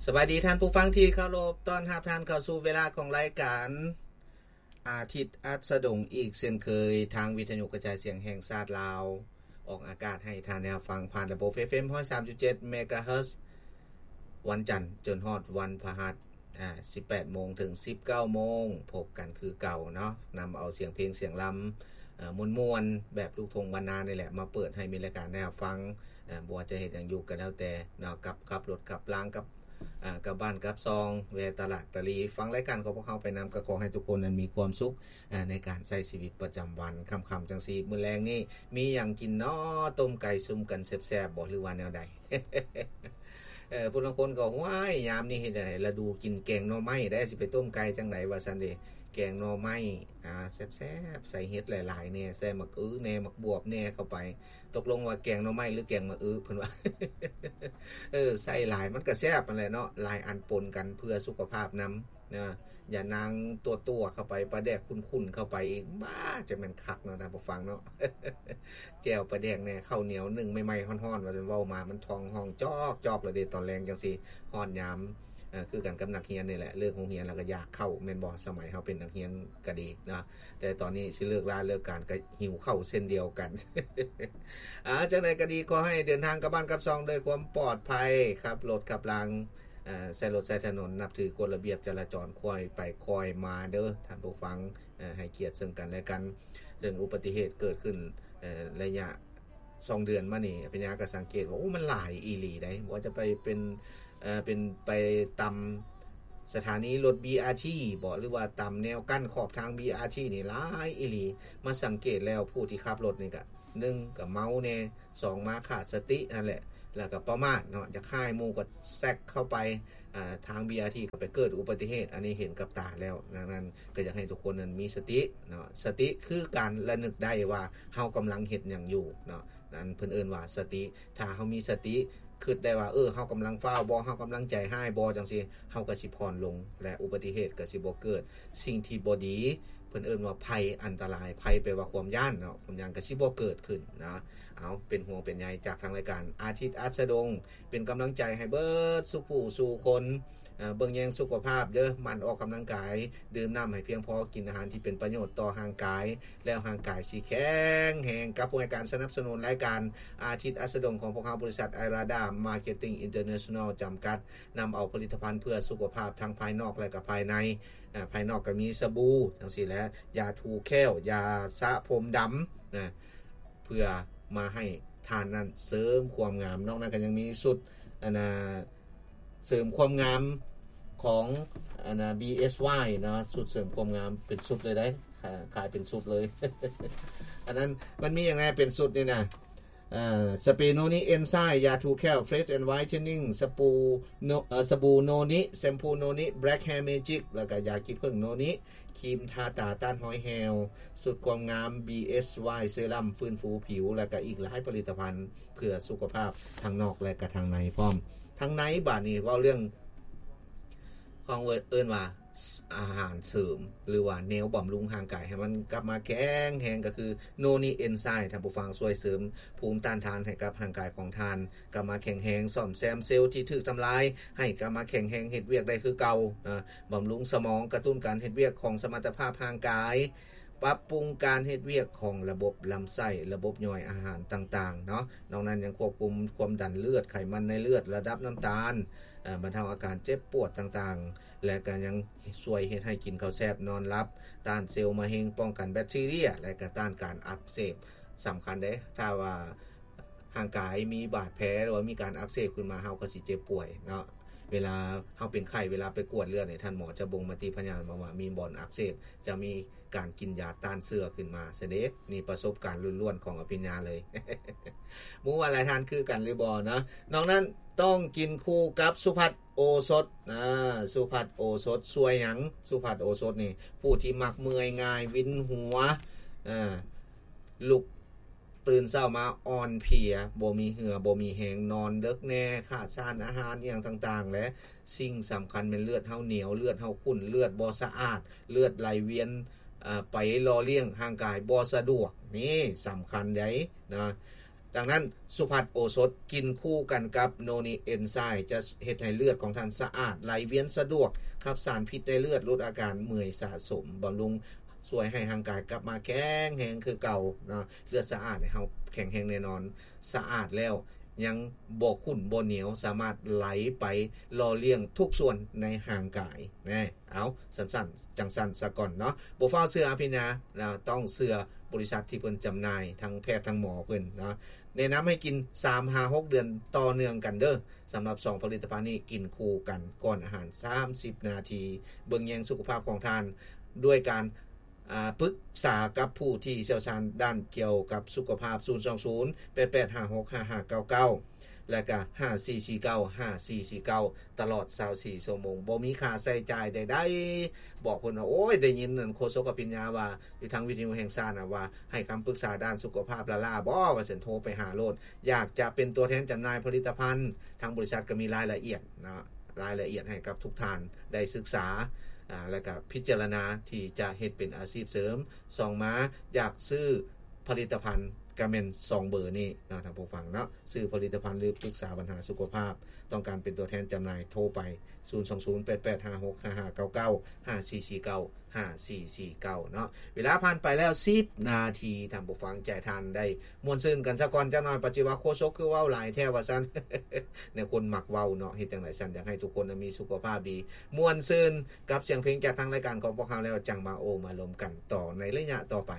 ສະບາຍດີທ່ານຜູ້ຟັງທີ່ເຄົາລົບ, ຕ້ອນຮັບທ່ານເຂົ້າສູ່ເວລາຂອງລາຍການອາທິດອັດສະດົງອີກເຊັ່ນເຄີຍ, ທາງວິທະຍຸກະຈາຍສຽງແຫ່ງຊາດລາວ ອອກອາກາດໃຫ້ທ່ານໄດ້ຮັບຟັງຜ່ານລະບົບ ເອຟເອັມ ຮ້ອຍສາມຈຸດເຈັດ ເມກາເຮີດ ວັນຈັນຈົນຮອດວັນພະຫັດ ອາ ສິບແປດໂມງເຖິງສິບເກົ້າໂມງ ພົບກັນຄືເກົ່າເນາະ, ນຳເອົາສຽງເພງສຽງລຳ ເອີ ມ່ວນໆ ແບບລູກທົ່ງບ້ານນານີ້ແຫຼະ ມາເປີດໃຫ້ມີລາຍການໄດ້ຮັບຟັງ. ເອີ ບໍ່ວ່າຈະເຮັດຫຍັງຢູ່ກໍແລ້ວແຕ່ເນາະ, ກັບ ຂັບລົດຂັບລາງ ກັບ ເອີ ກັບບ້ານກັບຊ່ອງ, ແວ່ຕະຫຼາດຕະຫຼີ, ຟັງລາຍການຂອງພວກເຮົາໄປນຳ, ກໍຂໍໃຫ້ທຸກຄົນນັ້ນມີຄວາມສຸກ ເອີ ໃນການໃຊ້ຊີວິດປະຈຳວັນ. ຄ່ຳໆ ຈັ່ງຊີ້ ມື້ແລງນີ້ມີຫຍັງກິນເນາະ? ຕົ້ມໄກ່ຊຸມກັນແຊບໆ ບໍ່ ຫຼືວ່າແນວໃດ? ເອີ ຜູ້ລາງຄົນກໍ ຫ້ວຍ ຍາມນີ້ເຮັດໃດ ລະດູກິນແກງໜໍ່ໄມ້ໄດ໋ ຊິໄປຕົ້ມໄກ່ຈັ່ງໃດ ວ່າຊັ້ນເດ. ແກງໜໍ່ໄມ້ ອາ ແຊບໆ ໃສ່ເຫັດຫຼາຍໆແດ່ ໃສ່ໝາກອຶແດ່ ໝາກບວບແດ່ເຂົ້າໄປ. ຕົກລົງວ່າແກງໜໍ່ໄມ້ ຫຼື ແກງໝາກອຶ ເພິ່ນວ່າ. ເອີ ໃສ່ຫຼາຍມັນກໍແຊບຫັ້ນແຫຼະເນາະ, ຫຼາຍອັນປົນກັນເພື່ອສຸຂະພາບນຳ. ນະ ຢ່ານາງຕົວໆເຂົ້າໄປ, ປາແດກຂຸ້ນໆເຂົ້າໄປອີກ, ບ້າ ຈະແມ່ນຄັກເນາະທ່ານຜູ້ຟັງເນາະ. ແຈ່ວປາແດກແດ່, ເຂົ້າໜຽວໜຶ້ງໃໝ່ໆ ຮ້ອນໆ ວ່າຊັ້ນ, ເວົ້າມາມັນທ້ອງຮ້ອງຈອກໆ ແລ້ວເດ້. ຕອນແລງຈັ່ງຊີ້ ຮອດຍາມ ເອີ ຄືກັນກັບນັກຮຽນນີ້ແຫຼະ, ເລີກໂຮງຮຽນແລ້ວກໍຢາກເຂົ້າ ແມ່ນບໍ່? ສະໄໝເຮົາເປັນນັກຮຽນກໍດີເນາະ, ແຕ່ຕອນນີ້ຊິເລີກລາເລີກການກໍຫິວເຂົ້າເຊັ່ນດຽວກັນ. ອາ ຈັ່ງໃດກໍດີ ຂໍໃຫ້ເດີນທາງກັບບ້ານກັບຊ່ອງດ້ວຍຄວາມປອດໄພ, ຂັບລົດຂັບລາງ ເອີ ໃຊ້ລົດໃຊ້ຖະໜົນ ນັບຖືກົດລະບຽບຈະລາຈອນ, ຄ່ອຍໄປຄ່ອຍມາເດີທ່ານຜູ້ຟັງ, ເອີ ໃຫ້ກຽດເຊິ່ງກັນແລະກັນ. ເຊິ່ງອຸບັດຕິເຫດເກີດຂຶ້ນ ເອີ ໄລຍະສອງເດືອນມານີ້ ອາພິນຍາກໍສັງເກດວ່າ ໂອ້ ມັນຫຼາຍອີ່ຫຼີໃດ໋. ບໍ່ວ່າຈະໄປເປັນ ເອີ ເປັນໄປຕາມສະຖານີລົດ ບີອາທີ ບໍ ຫຼືວ່າຕາມແນວກັ້ນຂອບທາງ ບີອາທີ ນີ້ຫຼາຍອີ່ຫຼີ. ມາສັງເກດແລ້ວ ຜູ້ທີ່ຂັບລົດນີ້ກະ ໜຶ່ງ ກະເມົາແດ່, ສອງ ມາຂາດສະຕິຫັ້ນແຫຼະ, ແລ້ວກໍປະໝາດເນາະ, ຢາກຮ້າຍໝູ່ກໍແຊກເຂົ້າໄປ ອາ ທາງ ບີອາທີ ກໍໄປເກີດອຸບັດຕິເຫດ. ອັນນີ້ເຫັນກັບຕາແລ້ວ, ດັ່ງນັ້ນກໍຢາກໃຫ້ທຸກຄົນນັ້ນມີສະຕິເນາະ, ສະຕິຄືການລະນຶກໄດ້ວ່າເຮົາກຳລັງເຮັດຫຍັງຢູ່ເນາະ. ນັ້ນເພິ່ນເອີ້ນວ່າສະຕິ. ຖ້າເຮົາມີສະຕິ ຄິດໄດ້ວ່າ ເອີ ເຮົາກຳລັງຟ້າວບໍ ເຮົາກຳລັງໃຈຮ້າຍບໍ ຈັ່ງຊີ້ ເຮົາກໍຊິຜ່ອນລົງ ແລະ ອຸບັດຕິເຫດກໍຊິບໍ່ເກີດ. ສິ່ງທີ່ບໍ່ດີ ເພິ່ນເອີ້ນວ່າໄພອັນຕະລາຍ, ໄພແປວ່າຄວາມຢ້ານເນາະ, ຄວາມຢ້ານກໍຊິບໍ່ເກີດຂຶ້ນນະ. ເອົາ ເປັນຫ່ວງເປັນໃຍຈາກທາງລາຍການອາທິດອັດສະດົງ, ເປັນກຳລັງໃຈໃຫ້ເບິດສູ່ຜູ້ສູ່ຄົນ. ເອີ ເບິ່ງແຍງສຸຂະພາບເດີ, ໝັ່ນອອກກຳລັງກາຍ, ດື່ມນ້ຳໃຫ້ພຽງພໍ, ກິນອາຫານທີ່ເປັນປະໂຫຍດຕໍ່ຮ່າງກາຍ, ແລ້ວຮ່າງກາຍຊິແຂງແຮງ. ກັບຜູ້ໃຫ້ການສະໜັບສະໜູນລາຍການອາທິດອັດສະດົງຂອງພວກເຮົາ, ບໍລິສັດ Irada Marketing International ຈຳກັດ, ນຳເອົາຜະລິດຕະພັນເພື່ອສຸຂະພາບທັງພາຍນອກ ແລະ ກໍພາຍໃນ. ອາ ພາຍນອກກໍມີສະບູຈັ່ງຊີ້ແຫຼະ, ຢາຖູແຂ້ວ, ຢາສະຜົມດຳນະ, ເພື່ອມາໃຫ້ທ່ານນັ້ນເສີມຄວາມງາມ. ນອກນັ້ນກໍຍັງມີຊຸດ ອັນນ່າ ເສີມຄວາມງາມຂອງ ອັນນ່າ ບີເອສວາຍເນາະ, ຊຸດເສີມຄວາມງາມເປັນຊຸດເລີຍໄດ໋, ຂາ- ຂາຍເປັນຊຸດເລີຍ. ອັນນັ້ນມັນມີຫຍັງແດ່ເປັນຊຸດນີ້ນະ? ເອີ ສະເປໂນນິເອນໄຊ, ຢາຖູແຂ້ວ Fresh and Whitening, ສະປູໂນ- ເອີ ສະບູໂນນິ, ແຊມພູໂນນິ, Black Hair Magic ແລ້ວກໍຢາຂີ້ເຜິ້ງໂນນິ, ຄຣີມທາຕາຕ້ານຮອຍແຫ່ວ, ຊຸດຄວາມງາມ ບີເອສວາຍ ເຊຣຳຟື້ນຟູຜິວ ແລ້ວກໍອີກຫຼາຍຜະລິດຕະພັນເພື່ອສຸຂະພາບທັງນອກ ແລະ ກະທັງໃນພ້ອມ. ທັງໃນບາດນີ້ເວົ້າເລື່ອງຂອງເອີ້ນວ່າອາຫານເສີມ ຫຼືວ່າແນວບຳລຸງຮ່າງກາຍໃຫ້ມັນກັບມາແຂງແຮງ ກໍຄືໂນນິເອນໄຊ, ທ່ານຜູ້ຟັງ, ຊ່ວຍເສີມພູມຕ້ານທານໃຫ້ກັບຮ່າງກາຍຂອງທ່ານ ກັບມາແຂງແຮງ, ສ້ອມແຊມເຊວທີ່ຖືກທຳລາຍໃຫ້ກັບມາແຂງແຮງເຮັດວຽກໄດ້ຄືເກົ່ານະ, ບຳລຸງສະໝອງ, ກະຕຸ້ນການເຮັດວຽກຂອງສະມັດຕະພາບຮ່າງກາຍ, ປັບປຸງການເຮັດວຽກຂອງລະບົບລຳໄສ້, ລະບົບຍ່ອຍອາຫານຕ່າງໆເນາະ. ນອກນັ້ນຍັງຄວບຄຸມຄວາມດັນເລືອດ, ໄຂມັນໃນເລືອດ, ລະດັບນ້ຳຕານ, ເອີ ບັນເທົາອາການເຈັບປວດຕ່າງໆ ແລະ ກໍຍັງຊ່ວຍເຮັດໃຫ້ກິນເຂົ້າແຊບ, ນອນຫຼັບ, ຕ້ານເຊວມະເຮັງ, ປ້ອງກັນແບັກທີເຣຍ ແລະ ກໍຕ້ານການອັກເສບ. ສຳຄັນເດ້, ຖ້າວ່າ ຮ່າງກາຍມີບາດແຜ ຫຼືວ່າມີການອັກເສບຂຶ້ນມາ ເຮົາກໍຊິເຈັບປ່ວຍເນາະ. ເວລາເຮົາເປັນໄຂ້ ເວລາໄປກວດເລືອດນີ້ ທ່ານໝໍຈະບົ່ງມະຕິພະຍາດມາວ່າມີບ່ອນອັກເສບ, ຈະມີການກິນຢາຕ້ານເຊື້ອຂຶ້ນມາຊະເດ. ນີ້ປະສົບການລ້ວນໆຂອງອະພິນຍາເລີຍ. ບໍ່ຮູ້ວ່າຫຼາຍທ່ານຄືກັນຫຼືບໍ່ເນາະ. ນອກນັ້ນຕ້ອງກິນຄູ່ກັບສຸພັດໂອສົດ. ອາ ສຸພັດໂອສົດຊ່ວຍຫຍັງ? ສຸພັດໂອສົດນີ້ ຜູ້ທີ່ມັກເມື່ອຍງ່າຍ ວິນຫົວ, ອາ ລຸກ ຕື່ນເຊົ້າມາອ່ອນເພຍ, ບໍ່ມີເຫື່ອ, ບໍ່ມີແຮງ, ນອນເດິກແດ່, ຂາດສານອາຫານ ອີ່ຫຍັງຕ່າງໆ ແລະ ສິ່ງສຳຄັນແມ່ນເລືອດເຮົາໜຽວ, ເລືອດເຮົາຂຸ້ນ, ເລືອດບໍ່ສະອາດ, ເລືອດໄຫຼວຽນ ເອີ ໄປຫຼໍ່ລ້ຽງຮ່າງກາຍບໍ່ສະດວກ. ນີ້ສຳຄັນໃດ໋ນະ. ດັ່ງນັ້ນ ສຸພັດໂອສົດ ກິນຄູ່ກັນກັບໂນນິເອັນໄຊ ຈະເຮັດໃຫ້ເລືອດຂອງທ່ານສະອາດ, ໄຫຼວຽນສະດວກ, ຂັບສານພິດໃນເລືອດ, ຫຼຸດອາການເມື່ອຍສະສົມ, ບຳລຸງຊ່ວຍໃຫ້ຮ່າງກາຍກັບມາແຂງແຮງຄືເກົ່າເນາະ. ເລືອດສະອາດໃຫ້ເຮົາແຂງແຮງແນ່ນອນ, ສະອາດແລ້ວຍັງບໍ່ຂຸ້ນບໍ່ໜຽວ, ສາມາດໄຫຼໄປຫຼໍ່ລ້ຽງທຸກສ່ວນໃນຮ່າງກາຍແນ່. ເອົາ ສັ້ນໆ ຈັ່ງຊັ້ນສາກ່ອນເນາະ, ບໍ່ຟ້າວເຊື່ອອະພິນຍາ, ຕ້ອງເຊື່ອບໍລິສັດທີ່ເພິ່ນຈຳໜ່າຍ, ທັງແພດທັງໝໍເພິ່ນເນາະ. ແນະນຳໃຫ້ກິນສາມຫາຫົກເດືອນຕໍ່ເນື່ອງກັນເດີ້. ສຳລັບສອງຜະລິດຕະພັນນີ້ ກິນຄູ່ກັນກ່ອນອາຫານສາມສິບນາທີ. ເບິ່ງແຍງສຸຂະພາບຂອງທ່ານດ້ວຍການ ອາ ປຶກສາກັບຜູ້ທີ່ຊ່ຽວຊານດ້ານກ່ຽວກັບສຸຂະພາບ ສູນສອງສູນ ແປດແປດຫ້າຫົກຫ້າຫ້າເກົ້າເກົ້າ ແລະກະ ຫ້າສີ່ສີ່ເກົ້າ ຫ້າສີ່ສີ່ເກົ້າ ຕະຫຼອດຊາວສີ່ຊົ່ວໂມງ, ບໍ່ມີຄ່າໃຊ້ຈ່າຍໃດໆ. ບອກເພິ່ນວ່າ ໂອ້ຍ ໄດ້ຍິນອັນໂຄສົກອະພິນຍາວ່າ ຢູ່ທາງວິທະຍຸແຫ່ງຊາດນະ ວ່າໃຫ້ຄຳປຶກສາດ້ານສຸຂະພາບລ້າໆບໍ ວ່າຊັ້ນ. ໂທໄປຫາໂລດ. ຢາກຈະເປັນຕົວແທນຈຳໜ່າຍຜະລິດຕະພັນ, ທາງບໍລິສັດກໍມີລາຍລະອຽດເນາະ, ລາຍລະອຽດໃຫ້ກັບທຸກທ່ານໄດ້ສຶກສາ ອາ ແລະກະພິຈາລະນາທີ່ຈະເຮັດເປັນອາຊີບເສີມ. ສ່ອງມາ ຢາກຊື້ຜະລິດຕະພັນ ກະແມ່ນສອງເບີນີ້ເນາະ ທ່ານຜູ້ຟັງເນາະ, ຊື້ຜະລິດຕະພັນ ຫຼື ປຶກສາບັນຫາສຸຂະພາບ. ຕ້ອງການເປັນຕົວແທນຈຳໜ່າຍ ໂທໄປ ສູນສອງສູນ ແປດແປດຫ້າຫົກຫ້າຫ້າເກົ້າເກົ້າ ຫ້າສີ່ສີ່ເກົ້າ ຫ້າສີ່ສີ່ເກົ້າ ເນາະ. ເວລາຜ່ານໄປແລ້ວສິບນາທີ, ທ່ານຜູ້ຟັງ, ໃຈທ່ານໄດ້ມ່ວນຊື່ນກັນຊະກ່ອນຈັກໜ່ອຍ. ປາດຊິວ່າໂຄສົກຄືເວົ້າຫຼາຍແທ້ວ່າຊັ້ນ. ແນວຄົນມັກເວົ້າເນາະ, ເຮັດຈັ່ງໃດຊັ້ນ? ຢາກໃຫ້ທຸກຄົນມີສຸຂະພາບດີ, ມ່ວນຊື່ນກັບສຽງເພງຈາກທາງລາຍການຂອງພວກເຮົາແລ້ວ, ຈັ່ງມາໂອ້ມາລົມກັນຕໍ່ໃນໄລຍະຕໍ່ໄປ.